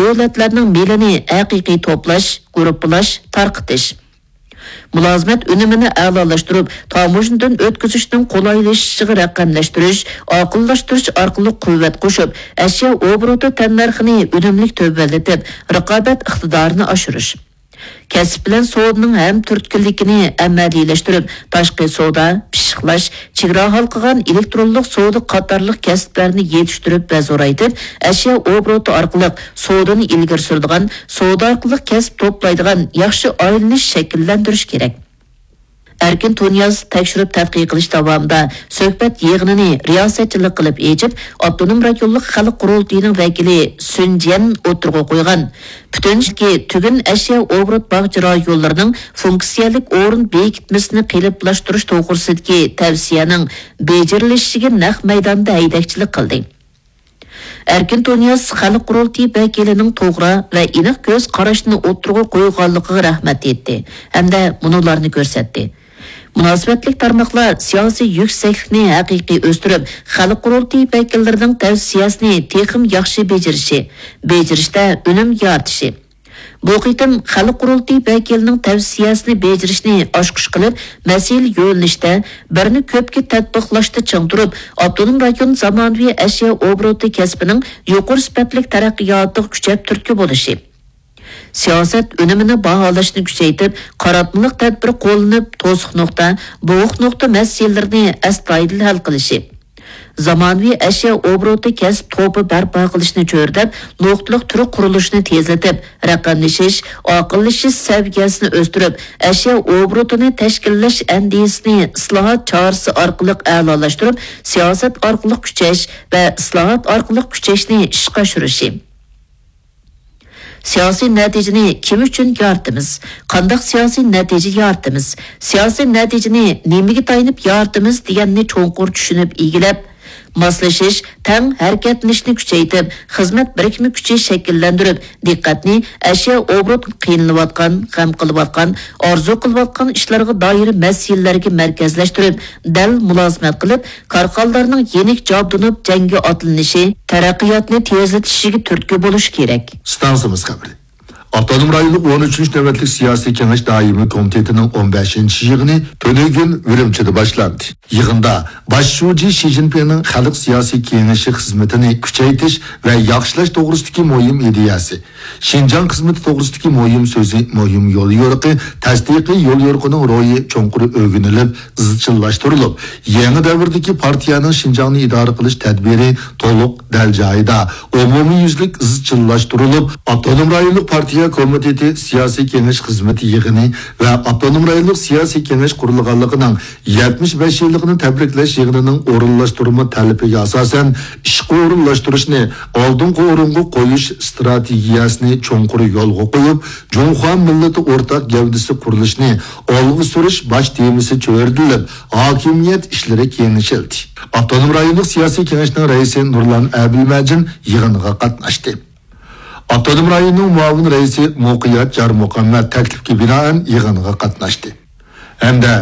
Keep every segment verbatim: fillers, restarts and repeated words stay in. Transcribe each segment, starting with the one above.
دۆلەتلەرنىڭ مېلىنى ھەقىقىي توپلاش، گۇرۇپپىلاش، تارقىتىش. مۇلازىمەت ئۈنۈمىنى ئەلالاشتۇرۇپ، تاموژنىدىن ئۆتكۈزۈشنىڭ قولايلىشىشىغا رەقەملەشتۈرۈش، ئاقىللاشتۇرۇش ئارقىلىق قۇۋۋەت قوشۇپ، ئەشيا ئوبوروتى تەننەرخىنى ئۈنۈملۈك تۆۋەنلىتىپ، رىقابەت ئىقتىدارىنى ئاشۇرۇش. كەسىپ بىلەن سودىنىڭ ھەم تۈرتكىلىكىنى ئەمەلىيلەشتۈرۈپ، تاشقى سودا، پىششىقلاش، چېگرا ھالقىغان ئېلېكترونلۇق سودا قاتارلىق كەسىپلەرنى يېتىشتۈرۈپ ۋە زورايتىپ، ئەشيا ئوبوروتى ئارقىلىق سودىنى ئىلگىرى سۈرىدىغان، سودا ئارقىلىق كەسىپ توپلايدىغان ياخشى ئايلىنىش شەكىللەندۈرۈش كېرەك. ئەركىن تۇنىياز تەكشۈرۈپ تەتقىق قىلىش داۋامىدا سۆھبەت يىغىنىنى رىياسەتچىلىك قىلىپ ئېچىپ، ئاپتونوم رايونلۇق خەلق قۇرۇلتىيىنىڭ ۋەكىلى سۈن جيەن ئوتتۇرىغا قويغان پۈتۈن تۈگۈن ئەشيا ئوبوروت باغچە رايونلىرىنىڭ فۇنكسىيەلىك ئورۇن بېكىتمىسىنى قېلىپلاشتۇرۇش توغرىسىدىكى تەۋسىيەنىڭ بېجىرىلىشىگە نەق مەيداندا ھەيدەكچىلىك قىلدى. ئەركىن تۇنىياز خەلق قۇرۇلتىيى ۋەكىلىنىڭ توغرا ۋە ئېنىق كۆز قاراشنى ئوتتۇرىغا قويغانلىقىغا رەھمەت ئېيتتى ھەمدە مۇنۇلارنى كۆرسەتتى. مۇناسىۋەتلىك تارماقلار سىياسىي يۈكسەكلىكنى ھەقىقىي ئۆستۈرۈپ، خەلق قۇرۇلتىيى ۋەكىللىرىنىڭ تەۋسىيەسىنى تېخىمۇ ياخشى بېجىرىشى، بېجىرىشتە ئۈنۈم يارىتىشى، بۇ قېتىم خەلق قۇرۇلتىيى ۋەكىلىنىڭ تەۋسىيەسىنى بېجىرىشنى ئاچقۇچ قىلىپ، مەسىلە يۆنىلىشتە، بىرنى كۆپكە تەتبىقلاشتا چىڭ تۇرۇپ، ئاپتونوم رايون زامانىۋى ئەشيا ئوبوروتى كەسپىنىڭ يۇقىرى سۈپەتلىك تەرەققىياتىغا كۈچەپ تۈرتكە بولۇشى، سىياسەت ئۈنۈمىنى باھالاشنى كۈچەيتىپ، قاراتمىلىق تەدبىر قوللىنىپ، توسۇق نۇقتا، بوغۇق نۇقتا مەسىلىلىرىنى ئەستايىدىل ھەل قىلىشى، زامانىۋى ئەشيا ئوبوروتى كەسىپ توپى بەرپا قىلىشنى چۆرىدەپ، نۇقتىلىق تۈر قۇرۇلۇشىنى تېزلىتىپ، رەقەملىشىش، ئاقىللىشىش سەۋىيەسىنى ئۆستۈرۈپ، ئەشيا ئوبوروتىنى تەشكىللەش ئەندىزىسىنى ئىسلاھات چارىسى ئارقىلىق ئەلالاشتۇرۇپ، سىياسەت ئارقىلىق كۈچەش ۋە ئىسلاھات ئارقىلىق كۈچەشنى ئىشقا ئاشۇرۇشى. سىياسىي نەتىجىنى كىم ئۈچۈن يارىتىمىز؟ قانداق سىياسىي نەتىجە يارىتىمىز؟ سىياسىي نەتىجىنى نېمىگە تايىنىپ يارىتىمىز دېگەننى چوڭقۇر چۈشىنىپ ئىگىلەپ، ماسلىشىش، تەڭ ھەرىكەتلىنىشنى كۈچەيتىپ، خىزمەت بىرىكمە كۈچى شەكىللەندۈرۈپ، دىققەتنى ئەشيا ئوبوروت قىينىلىۋاتقان، غەم قىلىۋاتقان، ئارزۇ قىلىۋاتقان ئىشلارغا دائىر مەسىلىلەرگە مەركەزلەشتۈرۈپ، دەل مۇلازىمەت قىلىپ، كارخانىلارنىڭ يېنىك جابدۇنۇپ جەڭگە ئاتلىنىشى، تەرەققىياتنى تېزلىتىشىگە تۈرتكە بولۇشى كېرەك. ئىستانسىمىز خەۋىرى. ئاپتونوم رايونلۇق ئون ئۈچىنچى نۆۋەتلىك سىياسىي كېڭەش دائىمىي كومىتېتىنىڭ ئون بەشىنچى يىغىنى تۈنۈگۈن ئۈرۈمچىدە باشلاندى. يىغىندا باش شۇجى شى جىنپىڭنىڭ خەلق سىياسىي كېڭىشى خىزمىتىنى كۈچەيتىش ۋە ياخشىلاش توغرىسىدىكى مۇھىم ئىدىيەسى، شىنجاڭ خىزمىتى توغرىسىدىكى مۇھىم سۆزى، مۇھىم يوليورۇقى، تەستىقىي يوليورۇقىنىڭ روھى چوڭقۇر ئۆگىنىلىپ، ئىزچىللاشتۇرۇلۇپ، يېڭى دەۋردىكى پارتىيەنىڭ شىنجاڭنى ئىدارە قىلىش تەدبىرى تولۇق، دەل جايىدا، ئومۇميۈزلۈك ئىزچىللاشتۇرۇلۇپ، ئاپتونوم رايونلۇق پارتىيە كومىتېتى سىياسىي كېڭەش خىزمىتى يىغىنى ۋە ئاپتونوم رايونلۇق سىياسىي كېڭەش قۇرۇلغانلىقىنىڭ يەتمىش بەش يىللىقىنى تەبرىكلەش يىغىنىنىڭ ئورۇنلاشتۇرما تەلىپىگە ئاساسەن، ئىشقا ئورۇنلاشتۇرۇشنى ئالدىنقى ئورۇنغا قويۇش ئىستراتېگىيەسىنى چوڭقۇر يولغا قويۇپ، جۇڭخۇا مىللىتى ئورتاق گەۋدىسى قۇرۇلۇشىنى ئالغا سۈرۈش باش تېمىسى چۆرىدىلىپ، ھاكىمىيەت ئىشلىرى كېڭىشىلدى. ئاپتونوم رايونلۇق سىياسىي كېڭەشنىڭ رەئىسى نۇرلان ئەبىلمەجىن يىغىنغا قاتناشتى. ئاپتونوم رايوننىڭ مۇئاۋىن رەئىسى مۇقىيەت جارمۇخەممەت تەكلىپكە بىنائەن يىغىنغا قاتناشتى ھەمدە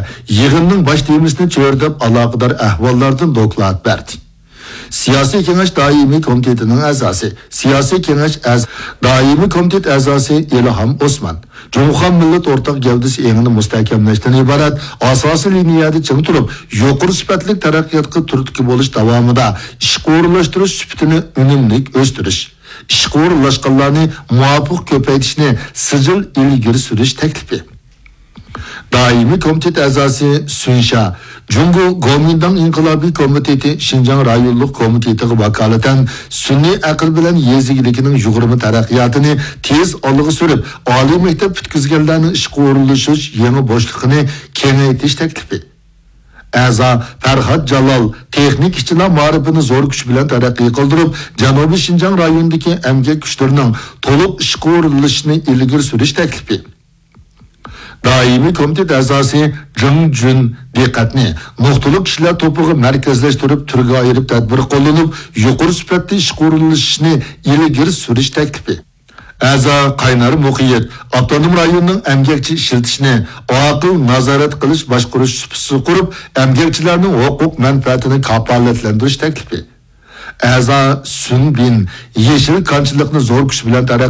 يىغىننىڭ باش تېمىسىنى چۆرىدەپ، ئالاقىدار ئەھۋاللاردىن دوكلات بەردى. سىياسىي كېڭەش دائىمىي كومىتېتىنىڭ ئەزاسى، سىياسىي كېڭەش ئەز-، دائىمىي كومىتېت ئەزاسى ئىلھام ئوسمان، جۇڭخۇا مىللەت ئورتاق گەۋدىسى ئېڭىنى مۇستەھكەملەشتىن ئىبارەت ئاساسىي لىنىيەدە چىڭ تۇرۇپ، يۇقىرى سۈپەتلىك تەرەققىياتقا تۈرتكە بولۇش داۋامىدا ئىشقا ئورۇنلاشتۇرۇش سۈپىتىنى ئۈنۈملۈك ئۆستۈرۈش، ئىشقا ئورۇنلاشقانلارنى مۇۋاپىق كۆپەيتىشنى سىجىل ئىلگىرى سۈرۈش تەكلىپى. دائىمىي كومىتېت ئەزاسى سۈنشا، جۇڭگو گومىنداڭ ئىنقىلابىي كومىتېتى شىنجاڭ رايونلۇق كومىتېتىغا ۋاكالىتەن سۈنئىي ئەقىل بىلەن يېزا ئىگىلىكىنىڭ يۇغۇرما تەرەققىياتىنى تېز ئالغا سۈرۈپ، ئالىي مەكتەپ پۈتكۈزگەنلەرنىڭ ئىشقا ئورۇنلىشىش يېڭى بوشلۇقىنى كېڭەيتىش تەكلىپى. ئەزا پەرھات جالال تېخنىك ئىشچىلار مائارىپىنى زور كۈچ بىلەن تەرەققىي قىلدۇرۇپ، جەنۇبىي شىنجاڭ رايونىدىكى ئەمگەك كۈچلىرىنىڭ تولۇق ئىشقا ئورۇنلىشىشىنى ئىلگىرى سۈرۈش تەكلىپى. دائىمىي كومىتېت ئەزاسى جېڭ جۈن دىققەتنى نۇقتىلىق كىشىلەر توپىغا مەركەزلەشتۈرۈپ، تۈرگە ئايرىپ تەدبىر قوللىنىپ، يۇقىرى سۈپەتتە ئىشقا ئورۇنلىشىشنى ئىلگىرى سۈرۈش تەكلىپى. ئەزا قاينار مۇقىيەت ئاپتونوم رايوننىڭ ئەمگەكچى ئىشلىتىشنى ئاقىل نازارەت قىلىش باشقۇرۇش سۇپىسى قۇرۇپ، ئەمگەكچىلەرنىڭ ھوقۇق مەنپەئەتىنى كاپالەتلەندۈرۈش تەكلىپى. ئەزا سۈن بىن يېشىل كانچىلىقنى زور كۈچ بىلەن تەرەققىي